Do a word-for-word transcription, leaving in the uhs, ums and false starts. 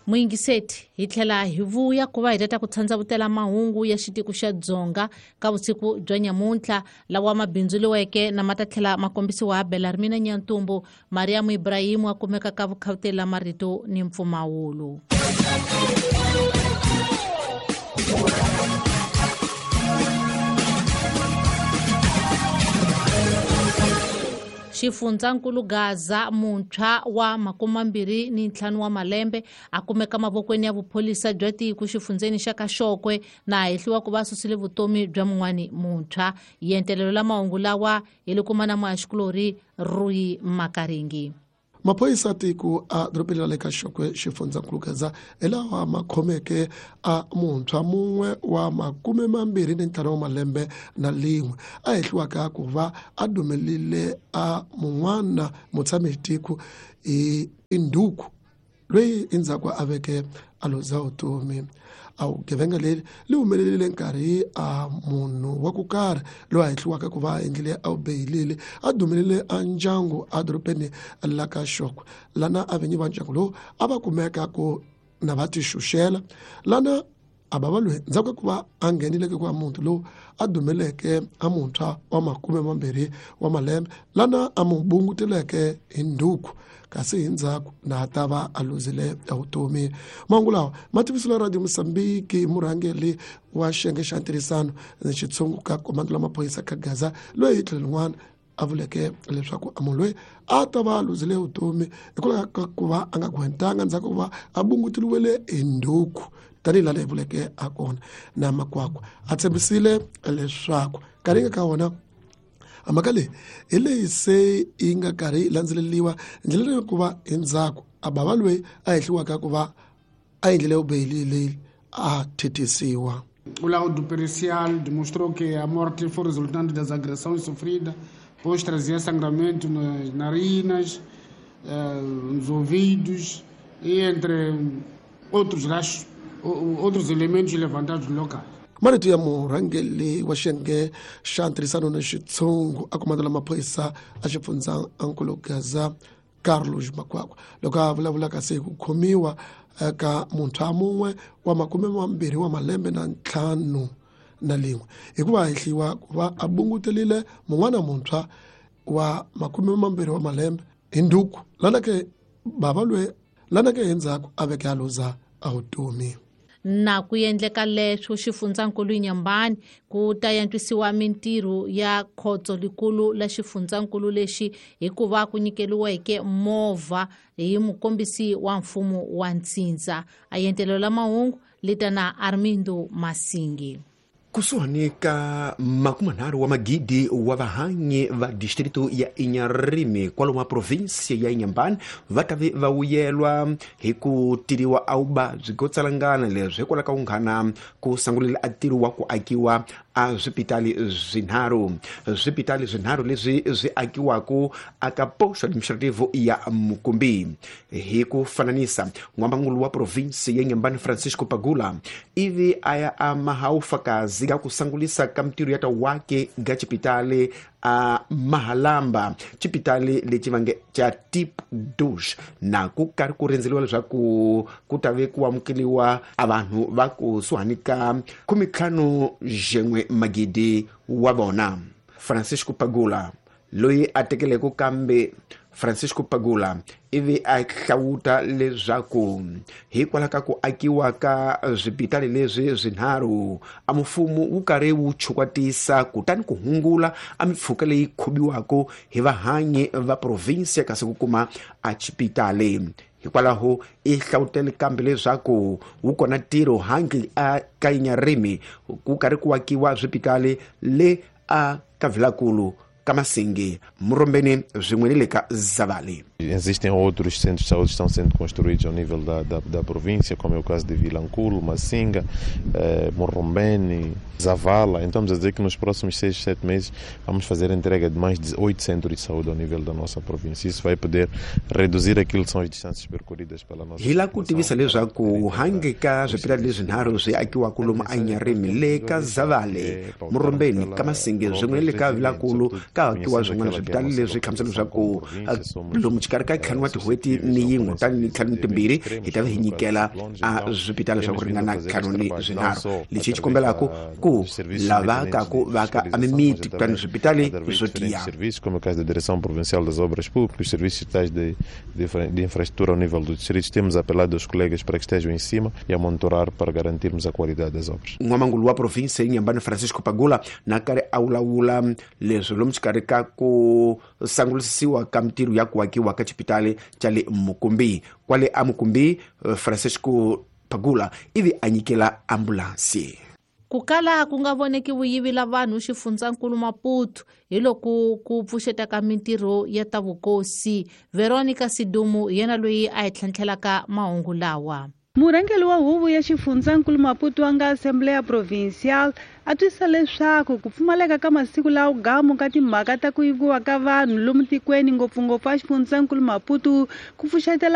Muyingiseti hi tlhela hi vuya ku va hi tata ku tshandzavutela mahungu ya xitiko xa Dzonga ka vusiku bya nyamuntlha lawa mabindzuliweke na ma ta tlhela ma kombisiwa Belarmina Nyantumbu Mariam Ibrahim a kumeka ka vukhawutela marito ni mpfumawulo. Xifundzankulu Gaza muntshwa wa makumambirhi ni ntlhanu wa malembe a kumeka mavokweni ya vupholisa bya tiko xifundzeni xa Kaxokwe na hehliwa ku va susile vutomi bya mun'wani muntshwa. Yentelelo la mahungu lawa hi le kuma na muhaxikulori Rui Makaringi. Maphoyisa tiko a dorobeni ra le Kaxokwe xifundzankulu Gaza hi lawa ma khomeke a muntshwa mun'we wa makume mambirhi ni ntlhanu wa malembe na lin'we a hehliwaka ku va a dumelile a mun'wana mutshami tiko hi induku loyi endzhaku a veke a luza vutomi. A vugevenga leri li humelerile nkarhi a munhu wa ku karhi loyi a hehliwaka ku va a endlile a wu beyilile a dumelile a ndyangu a dorobeni la Kaxokwe lana a vinyi va ndyangu lowu a va kumeka ku na va tixuxela lana a va va loyi ndzhaku ka ku va a nghenileke ku va muti lowu a dumeleke a muntshwa wa makume mambirhi wa malembe lana a mu bunguteleke hi nduku kasi hi ndzhaku na ta va a luzile vutomi. Mahungu lawa ma tivisile Radio Mozambique murhangeri wa xiyenge xa ntirhisano ni xitshungu ka komando la maphorisa ka Gaza loyi hi tlhelo rin'wana a vuleke leswaku a munhu loyi a ta va a luzile vutomi hikwalaho ka ku va a nga gwentanga ndzhaku ku va a bungutiliwele hi nduku tanihi laha hi vuleke a kona na makwakwa a tshembisile leswaku nkarhi nga ka wona mhaka leyi hi leyi se yi nga karhi yi landzeleriwa ndlela ya ku va endzhaku a bava loyi a hehliwaka ku va a endlile vubeyili leyi a thethisiwa. O laudo pericial demonstrou que a morte foi resultante das agressões sofridas, pois trazia sangramento nas narinas, eh, nos ouvidos e entre outros rachos, outros elementos levantados no local. Marito ya murhangeri wa xiyenge xa ntirhisano na xitshungu a komando la maphorisa a xifundzankulu Gaza Carlos Makwakwa loko a vulavula kasi hi ku khomiwa ka muntshwa mun'we wa makume mambirhi wa malembe na ntlhanu na lin'we hikuva a hehliwa ku va a bungutelile mun'wana muntshwa wa makume mambirhi wa malembe hi nduku lana ke bava loyi lana ke endzhaku a veke a luza a vutomi. Na ku endleka leswo xifundzankulu Inhambane ku ta antswisiwa mintirho ya khotso likulu la xifundzankulu lexi hikuva ku nyikeliweke movha hi mukombisi wa mfumo wa ntsindza. A yentelelo la mahungu lita na Armindo Masingi. Kusuhani ka makumanharhu wa magidi wa vahanyi va distrito ya Inharime kwalomu provinsia ya Inhambane va ta ve va vuyelwa hi ku tiriwa a vuvabyi byo tsalangana leswi hikwalaho ka vunghana ku sangulela a ntirho wa ku akiwa a swipitali swinharhu swipitali swinharhu leswi swi akiwaka aka posto administrativo ya Mukumbi. Hi ku fananisa n'wamangulu wa provinsi ya Inhambane Francisco Pagula ivi a ya a mahaufakazi ga ku sangulisa ka mintirho ya ta wake ga xipitali a Mahalamba xipitali lexi va nge xa Tip Douche na ku karhi ku rindzeliwa leswaku ku ta ve ku amukeliwa a vanhu va kusuhani ka khumentlhanu xin'we magidi wa vona. Francisco Pagula loyi a tekeleke kambe Francisco Pagula ivi a hlawuta leswaku hikwalaho ka ku akiwa ka swipitali leswi swinharhu a mfumo wu karhi wu chukwatisa kutani ku hungula a mipfhuka leyi khomiwaka hi vahanyi va provinsia kasi ku kuma a xipitali. Hikwalaho i hlawutele kambe leswaku wu kona ntirho hangi a ka Inharime ku karhi ku akiwa swipitali le a ka Vilakulu ka Masingi, Murombeni swin'we ni le ka Zavali. Existem outros centros de saúde que estão sendo construídos ao nível da, da, da província, como é o caso de Vilanculo, Massinga, eh, Morrombene, Zavala. Então, vamos a dizer que nos próximos seis, sete meses vamos fazer a entrega de mais de oito centros de saúde ao nível da nossa província. Isso vai poder reduzir aquilo que são as distâncias percorridas pela nossa Hi la ku tivisa leswaku hangi ka swipitali leswinharhu swi akiwaka lomu a Inharime le ka Zavale, Murombeni, ka Masinga swin'we le ka Vilanculo, ka hakiwa swin'wana swipitali leswi hlamusela leswaku lomu xikarhi ka ntlhanu wa tin'hweti ni yin'we kutani ni ntlhanu ni timbirhi hi ta va hi nyikela a swipitali swa ku ringana ntlhanu ni swinharhu. Lexi hi xi kombelaka ku lavaka ku vaka a mimiti kutani swipitali swo tiya. Como é o caso da Direção Provincial das Obras Públicas, os serviços estatais de, de, de infraestrutura ao nível dos distritos, temos apelado aos colegas para que estejam em cima e a monitorar para garantirmos a qualidade das obras. N'wamangulu wa province Inhambane Francisco Pagula na karhi a vulavula leswi lomu xikarhi ka ku sangulisisiwa ka mintirho ya ku akiwa ka xipitali xa le Mukumbi. Kwale a Mukumbi, Francisco Pagula ivi a nyikela ambulansi. Ku kala ku nga voneki vuyivi la vanhu xifundzankulu Maputo hi loko ku pfuxeta ka mintirho ya ta vukosi. Veronica Sidumu hi yena loyi a hi tlhentlhelaka mahungu lawa. Murhangeri wa huvo ya xifundzankulu Maputo wa nga Assembleia Provincial a twisisa leswaku ku pfumaleka ka masiku lawa gamu ka timhaka ta ku yiviwa ka vanhu lomu tikweni ngopfungopfu a xifundzankulu Maputo ku pfuxetela